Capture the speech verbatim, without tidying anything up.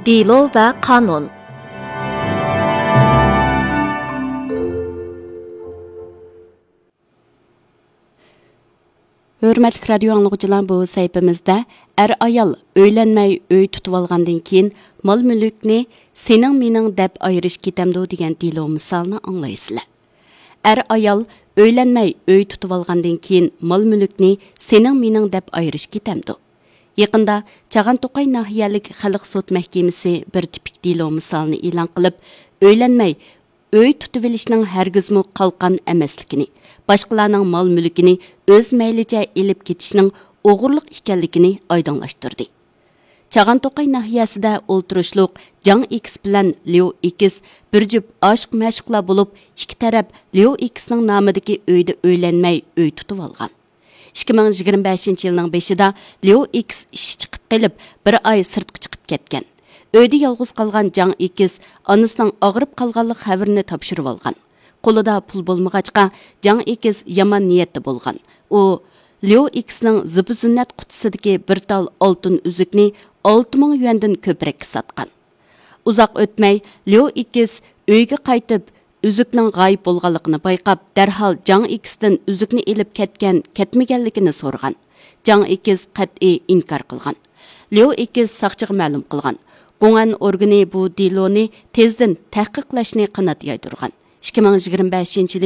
دېلو ۋە قانۇن. ھۆرمەتلىك رادىيو ئاڭلىغۇچىلار، بۇ سەھىپىمىزدە ئەر-ئايال ئۆيلەنمەي ئۆي تۇتۇۋالغاندىن كېيىن مال-مۈلۈكنى سېنىڭ-مېنىڭ دەپ ئايرىش كېتەمدۇ دېگەن دېلو مىسالىنى ئاڭلايسىلەر. ئەر-ئايال ئۆيلەنمەي ئۆي تۇتۇۋالغاندىن كېيىن مال-مۈلۈكنى سېنىڭ-مېنىڭ دەپ ئايرىش كېتەمدۇ؟ يېقىندا چاغان توقاي ناھىيەلىك خەلق سوت مەھكىمىسى بىر تىپىك دېلو مىسالىنى ئېلان قىلىپ، ئۆيلەنمەي ئۆي تۇتۇۋېلىشنىڭ ھەرگىزمۇ قالقان ئەمەسلىكىنى، باشقىلارنىڭ مال-مۈلكىنى ئۆز مەيلىچە ئېلىپ كېتىشنىڭ ئوغرىلىق ئىكەنلىكىنى ئايدىڭلاشتۇردى. چاغان توقاي ناھىيەسىدە ئولتۇرۇشلۇق جاڭ ئېكىس بىلەن ليۇ ئېكىس بىر جۈپ ئاشىق-مەشۇقلار بولۇپ، ئىككى تەرەپ ليۇ ئېكىسنىڭ نامىدىكى ئۆيدە ئۆيلەنمەي ئۆي تۇتۇۋالغان. ئىككى مىڭ يىگىرمە بەشىنچى يىلنىڭ بېشىدا ليۇ ئېكىس ئىشى چىقىپ قېلىپ، بىر ئاي سىرتقا چىقىپ كەتكەن. ئۆيدە يالغۇز قالغان جاڭ ئېكىس ئانىسىنىڭ ئاغرىپ قالغانلىق خەۋىرىنى تاپشۇرۇۋالغان. قولىدا پۇل بولمىغاچقا، جاڭ ئېكىس يامان نىيەتتە بولغان. ئۇ ليۇ ئېكىسنىڭ زىبۇ-زىننەت قۇتىسىدىكى بىر تال ئالتۇن ئۈزۈكنى ئالتە مىڭ يۈەندىن كۆپرەككە ساتقان. ئۇزاق ئۆتمەي، ليۇ ئېكىس ئۆيگە قايتىپ، ئۈزۈكنىڭ غايىب بولغانلىقىنى بايقاپ، دەرھال جاڭ ئېكىستىن ئۈزۈكنى ئېلىپ كەتكەن، كەتمىگەنلىكىنى سورىغان. جاڭ ئېكىس قەتئىي ئىنكار قىلغان. ليۇ ئېكىس ساقچىغا مەلۇم قىلغان. گۇڭئەن ئورگىنى بۇ دېلونى تېزدىن تەھقىقلەشنى قانات يايدۇرغان. ئىككى مىڭ يىگىرمە بەشىنچى